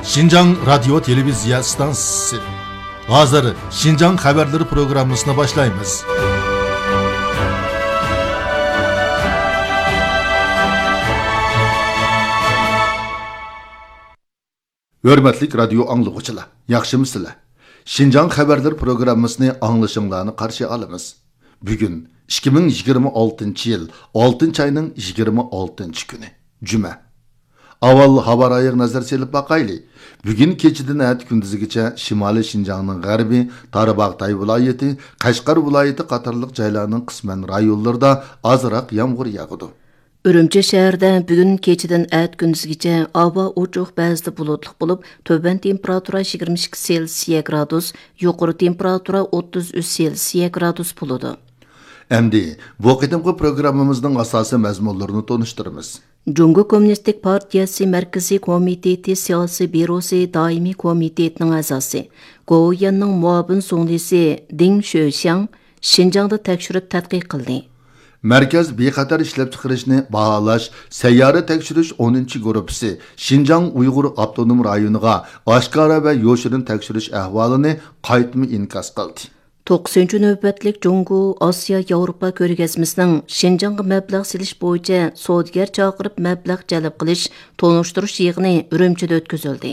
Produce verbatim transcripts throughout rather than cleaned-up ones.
شىنجاڭ رادىيو تېلېۋىزىيە ئىستانسىسى. ھازىر شىنجاڭ خەۋەرلىرى پروگراممىسىنى باشلايمىز. ھۆرمەتلىك رادىيو ئاڭلىغۇچىلار، ياخشىمۇسىلەر؟ شىنجاڭ خەۋەرلىرى پروگراممىسىنى ئاڭلىشىڭلارنى قارشى ئالىمىز. بۈگۈن ئىككى مىڭ يىگىرمە ئالتىنچى يىل ئالتىنچى ئاينىڭ يىگىرمە ئالتىنچى كۈنى، جۈمە. ئاۋۋال ھاۋا رايىغا نەزەر سېلىپ باقايلى. بۈگۈن كېچىدىن ئەتە كۈندۈزگىچە شىمالىي شىنجاڭنىڭ غەربى، تارباغاتاي ۋىلايىتى، قەشقەر ۋىلايىتى قاتارلىق جايلارنىڭ قىسمەن رايونلىرىدا ئازراق يامغۇر ياغىدۇ. ئۈرۈمچى شەھىرىدە بۈگۈن كېچىدىن ئەتە كۈندۈزگىچە ھاۋا ئوچۇق، بەزىدە بۇلۇتلۇق بولۇپ، تۆۋەن تېمپېراتۇرا يىگىرمە ئىككى سېلسىيە گرادۇس، يۇقىرى تېمپېراتۇرا ئوتتۇز ئۈچ سېلسىيە گرادۇس بولىدۇ. ئەمدى بۇ قېتىمقى پروگراممىمىزنىڭ ئاساسىي مەزمۇنلىرىنى تونۇشتۇرىمىز. جۇڭگو كوممۇنىستىك پارتىيەسى مەركىزىي كومىتېتى سىياسىي بيۇروسى دائىمىي كومىتېتىنىڭ ئەزاسى، گوۋۇيۈەننىڭ مۇئاۋىن زۇڭلىسى دىڭ شۆشياڭ شىنجاڭدا تەكشۈرۈپ تەتقىق قىلدى. مەركەز بىخەتەر ئىشلەپچىقىرىشنى باھالاش سەييارە تەكشۈرۈش ئونىنچى گۇرۇپپىسى شىنجاڭ ئۇيغۇر ئاپتونوم رايونىغا ئاشكارا ۋە يوشۇرۇن تەكشۈرۈش ئەھۋالىنى قايتىمۇ ئىنكاس قىلدى. توققۇزىنچى نۆۋەتلىك جۇڭگو ئاسىيا ياۋروپا كۆرگەزمىسىنىڭ شىنجاڭغا مەبلەغ سېلىش بويىچە سودىگەر چاقىرىپ مەبلەغ جەلپ قىلىش تونۇشتۇرۇش يىغىنى ئۈرۈمچىدە ئۆتكۈزۈلدى.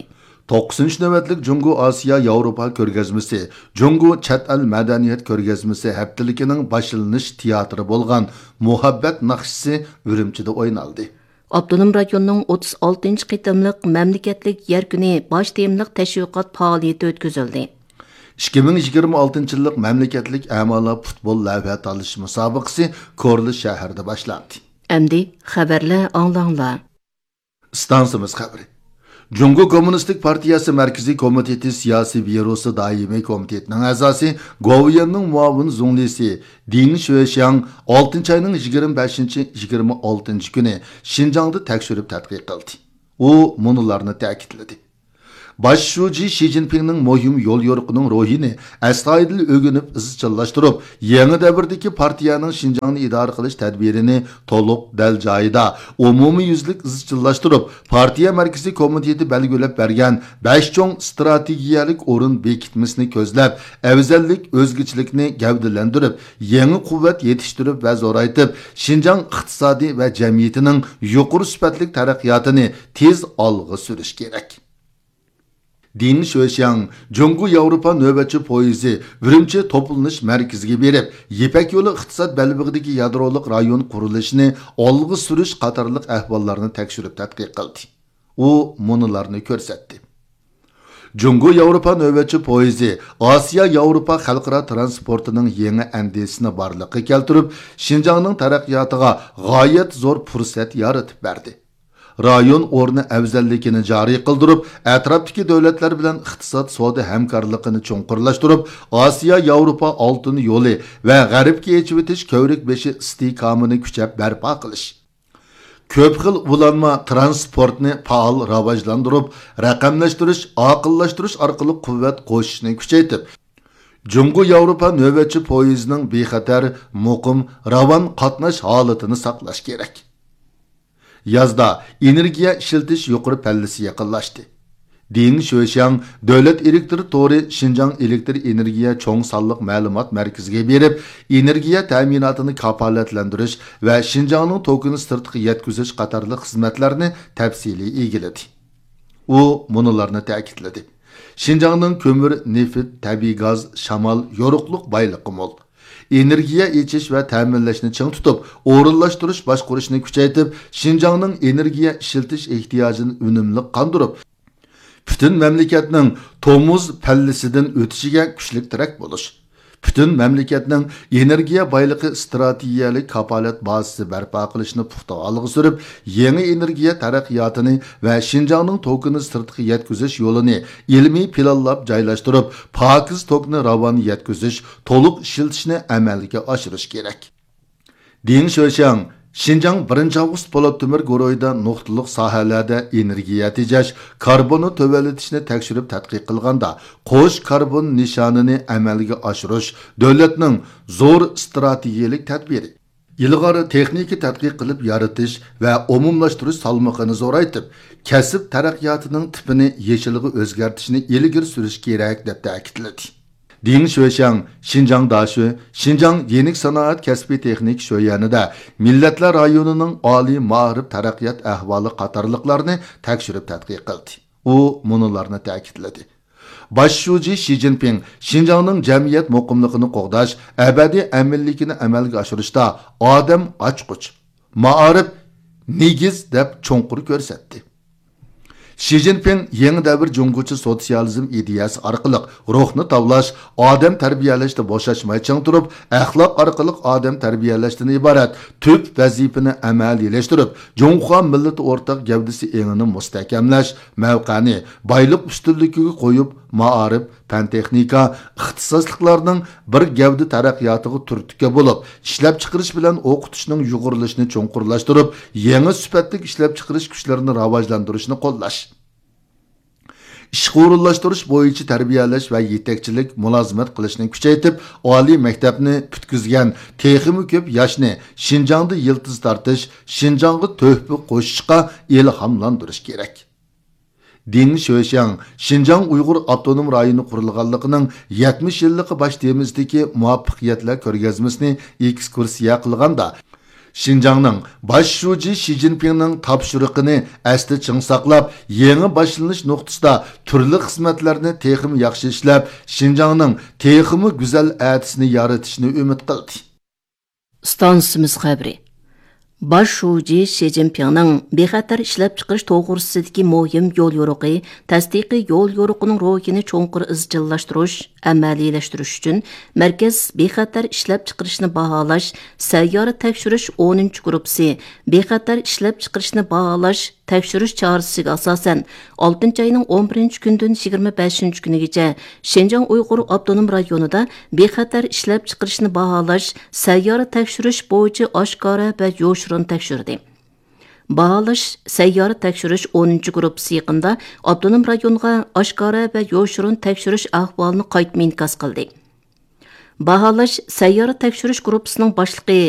توققۇزىنچى نۆۋەتلىك جۇڭگو ئاسىيا ياۋروپا كۆرگەزمىسى، جۇڭگو چەت ئەل مەدەنىيەت كۆرگەزمىسى ھەپتىلىكىنىڭ باشلىنىش تىياتىرى بولغان مۇھەببەت ناخشىسى ئۈرۈمچىدە ئوينالدى. ئاپتونوم رايوننىڭ ئوتتۇز ئالتىنچى قېتىملىق مەملىكەتلىك يەر كۈنى باش تېمىلىق تەشۋىقات پائالىيىتى ئۆتكۈزۈلدى. ئىككى مىڭ يىگىرمە ئالتىنچى يىللىق مەملىكەتلىك ئەمالار پۇتبول لەۋھە تالىشىش مۇسابىقىسى كورلا شەھىرىدە باشلاندى. ئەمدى خەۋەرلەر ئاڭلاڭلار. ئىستانسىمىز خەۋىرى. جۇڭگو كوممۇنىستىك پارتىيەسى مەركىزىي كومىتېتى سىياسىي بيۇروسى دائىمىي كومىتېتىنىڭ ئەزاسى، گوۋۇيۈەننىڭ مۇئاۋىن زۇڭلىسى دىڭ شۆشياڭ ئالتىنچى ئاينىڭ يىگىرمە بەشىنچى، يىگىرمە ئالتىنچى كۈنى شىنجاڭدا تەكشۈرۈپ تەتقىق قىلدى. ئۇ مۇنۇلارنى تەكىتلىدى. باش شۇجى شى جىنپىڭنىڭ مۇھىم يوليورۇقىنىڭ روھىنى ئەستايىدىل ئۆگىنىپ ئىزچىللاشتۇرۇپ، يېڭى دەۋردىكى پارتىيەنىڭ شىنجاڭنى ئىدارە قىلىش تەدبىرىنى تولۇق، دەل جايىدا، ئومۇميۈزلۈك ئىزچىللاشتۇرۇپ، پارتىيە مەركىزىي كومىتېتى بەلگىلەپ بەرگەن بەش چوڭ ئىستراتېگىيەلىك ئورۇن بېكىتمىسىنى كۆزلەپ، ئەۋزەللىك، ئۆزگىچىلىكنى گەۋدىلەندۈرۈپ، يېڭى قۇۋۋەت يېتىشتۈرۈپ ۋە زورايتىپ، شىنجاڭ ئىقتىسادى ۋە جەمئىيىتىنىڭ يۇقىرى سۈپەتلىك تەرەققىياتىنى تېز ئالغا سۈرۈش كېرەك. دىڭ شۆشياڭ جۇڭگو ياۋروپا نۆۋەتچى پويىزى ئۈرۈمچى توپلىنىش مەركىزىگە بېرىپ، يىپەك يولى ئىقتىساد بەلبېغىدىكى يادرولۇق رايون قۇرۇلۇشىنى ئالغا سۈرۈش قاتارلىق ئەھۋاللارنى تەكشۈرۈپ تەتقىق قىلدى. ئۇ مۇنۇلارنى كۆرسەتتى. جۇڭگو ياۋروپا نۆۋەتچى پويىزى ئاسىيا ياۋروپا خەلقئارا ترانسپورتىنىڭ يېڭى ئەندىزىسىنى بارلىققا كەلتۈرۈپ، شىنجاڭنىڭ تەرەققىياتىغا غايەت زور پۇرسەت يارىتىپ بەردى. رايون ئورنى ئەۋزەللىكىنى جارى قىلدۇرۇپ، ئەتراپتىكى دۆلەتلەر بىلەن ئىقتىساد سودا ھەمكارلىقىنى چوڭقۇرلاشتۇرۇپ، ئاسىيا ياۋروپا ئالتۇن يولى ۋە غەربكە ئېچىۋېتىش كۆۋرۈك بېشى ئىستىھكامىنى كۈچەپ بەرپا قىلىش. كۆپ خىل ئۇلانما ترانسپورتنى پائال راۋاجلاندۇرۇپ، رەقەملەشتۈرۈش، ئاقىللاشتۇرۇش ئارقىلىق قۇۋۋەت قوشۇشنى كۈچەيتىپ، جۇڭگو ياۋروپا نۆۋەتچى پويىزىنىڭ بىخەتەر، مۇقىم، راۋان قاتناش ھالىتىنى ساقلاش كېرەك. يازدا ئېنېرگىيە ئىشلىتىش يۇقىرى پەللىسى يېقىنلاشتى. دىڭ شۆشياڭ دۆلەت ئېلېكتر تورى شىنجاڭ ئېلېكتر ئېنېرگىيە چوڭ سانلىق مەلۇمات مەركىزىگە بېرىپ، ئېنېرگىيە تەمىناتىنى كاپالەتلەندۈرۈش ۋە شىنجاڭنىڭ توكىنى سىرتقا يەتكۈزۈش قاتارلىق خىزمەتلەرنى تەپسىلىي ئىگىلىدى. ئۇ مۇنۇلارنى تەكىتلىدى. شىنجاڭنىڭ كۆمۈر، نېفىت، تەبىئىي گاز، شامال، يورۇقلۇق بايلىقى مول. ئېنېرگىيە ئېچىش ۋە تەمىنلەشنى چىڭ تۇتۇپ، ئورۇنلاشتۇرۇش باشقۇرۇشنى كۈچەيتىپ، شىنجاڭنىڭ ئېنېرگىيە ئىشلىتىش ئېھتىياجىنى ئۈنۈملۈق قاندۇرۇپ، پۈتۈن مەملىكەتنىڭ تومۇز پەللىسىدىن ئۆتۈشىگە كۈچلۈك تىرەك بولۇش، پۈتۈن مەملىكەتنىڭ ئېنېرگىيە بايلىقى ئىستراتېگىيەلىك كاپالەت بازىسى بەرپا قىلىشنى پۇختا ئالغا سۈرۈپ، يېڭى ئېنېرگىيە تەرەققىياتىنى ۋە شىنجاڭنىڭ توكىنى سىرتقا يەتكۈزۈش يولىنى ئىلمىي پىلانلاپ جايلاشتۇرۇپ، پاكىز توكنى راۋان يەتكۈزۈش، تولۇق ئىشلىتىشنى ئەمەلگە ئاشۇرۇش كېرەك. دېڭ شۆشياڭ شىنجاڭ بىرىنچى ئاۋغۇست پولات تۆمۈر گۇرۇھىدا نۇقتىلىق ساھەلەردە ئېنېرگىيە تېجەش، كاربوننى تۆۋەنلىتىشنى تەكشۈرۈپ تەتقىق قىلغاندا، قوش كاربون نىشانىنى ئەمەلگە ئاشۇرۇش دۆلەتنىڭ زور ئىستراتېگىيەلىك تەدبىرى. ئىلغار تېخنىكا تەتقىق قىلىپ يارىتىش ۋە ئومۇملاشتۇرۇش سالمىقىنى زورايتىپ، كەسىپ تەرەققىياتىنىڭ تىپىنى يېشىلغا ئۆزگەرتىشنى ئىلگىرى سۈرۈش كېرەك، دەپ تەكىتلىدى. دېڭ شۆشياڭ شىنجاڭ داشۆ، شىنجاڭ يېنىك سانائەت كەسپىي تېخنىكا شۆيەنىدە مىللەتلەر رايونىنىڭ ئالىي مائارىپ تەرەققىيات ئەھۋالى قاتارلىقلارنى تەكشۈرۈپ تەتقىق قىلدى. ئۇ مۇنۇلارنى تەكىتلىدى. باش شۇجى شى جىنپىڭ شىنجاڭنىڭ جەمئىيەت مۇقىملىقىنى قوغداش، ئەبەدىي ئەمىنلىكىنى ئەمەلگە ئاشۇرۇشتا ئادەم ئاچقۇچ، مائارىپ نېگىز دەپ چوڭقۇر كۆرسەتتى. شى جىنپىڭ يېڭى دەۋر جۇڭگوچە سوتسىيالىزم ئىدىيەسى ئارقىلىق روھنى تاۋلاش، ئادەم تەربىيەلەشتە بوشاشماي چىڭ تۇرۇپ، ئەخلاق ئارقىلىق ئادەم تەربىيەلەشتىن ئىبارەت تۈپ ۋەزىپىنى ئەمەلىيلەشتۈرۈپ، جۇڭخۇا مىللىتى ئورتاق گەۋدىسى ئېڭىنى مۇستەھكەملەش، مەۋقەنى بايلىق ئۈستۈنلۈكىگە قويۇپ، مائارىپ، پەن-تېخنىكا، ئىختىساسلىقلارنىڭ بىر گەۋدە تەرەققىياتىغا تۈرتكە بولۇپ، ئىشلەپچىقىرىش بىلەن ئوقۇتۇشنىڭ يۇغۇرۇلۇشىنى چوڭقۇرلاشتۇرۇپ، يېڭى سۈپەتلىك ئىشلەپچىقىرىش كۈچلىرىنى راۋاجلاندۇرۇشنى قوللاش. ئىشقا ئورۇنلاشتۇرۇش بويىچە تەربىيەلەش ۋە يېتەكچىلىك مۇلازىمەت قىلىشنى كۈچەيتىپ، ئالىي مەكتەپنى پۈتكۈزگەن تېخىمۇ كۆپ ياشنى شىنجاڭدا يىلتىز تارتىش، شىنجاڭغا تۆھپە قوشۇشقا ئىلھاملاندۇرۇش كېرەك. دېڭ شۆشياڭ شىنجاڭ ئۇيغۇر ئاپتونوم رايونى قۇرۇلغانلىقىنىڭ يەتمىش يىللىقى باش تېمىسىدىكى مۇۋەپپەقىيەتلەر كۆرگەزمىسىنى ئېكسكۇرسىيە قىلغاندا، شىنجاڭنىڭ باش شۇجى شى جىنپىڭنىڭ تاپشۇرۇقىنى ئەستە چىڭ ساقلاپ، يېڭى باشلىنىش نۇقتىسىدا تۈرلۈك خىزمەتلەرنى تېخىمۇ ياخشى ئىشلەپ، شىنجاڭنىڭ تېخىمۇ گۈزەل ئەتىسىنى يارىتىشنى ئۈمىد قىلدى. ئىستانسىمىز خەۋىرى. باش شۇجى شى جىنپىڭنىڭ بىخەتەر ئىشلەپچىقىرىش توغرىسىدىكى مۇھىم يوليورۇقى، تەستىقىي يوليورۇقىنىڭ روھىنى چوڭقۇر ئىزچىللاشتۇرۇش، ئەمەلىيلەشتۈرۈش ئۈچۈن، مەركەز بىخەتەر ئىشلەپچىقىرىشنى باھالاش سەييارە تەكشۈرۈش ئونىنچى گۇرۇپپىسى بىخەتەر ئىشلەپچىقىرىشنى باھالاش تەكشۈرۈش چارىسىگە ئاساسەن، ئالتىنچى ئاينىڭ ئون بىرىنچى كۈنىدىن يىگىرمە بەشىنچى كۈنىگىچە شىنجاڭ ئۇيغۇر ئاپتونوم رايونىدا بىخەتەر ئىشلەپچىقىرىشنى باھالاش سەييارە تەكشۈرۈش بويىچە ئاشكارا ۋە يوشۇرۇن تەكشۈردى. باھالاش سەييارە تەكشۈرۈش ئونىنچى گۇرۇپپىسى يېقىندا ئاپتونوم رايونغا ئاشكارا ۋە يوشۇرۇن تەكشۈرۈش ئەھۋالىنى قايتما ئىنكاس قىلدى. باھالاش سەييارە تەكشۈرۈش گۇرۇپپىسىنىڭ باشلىقى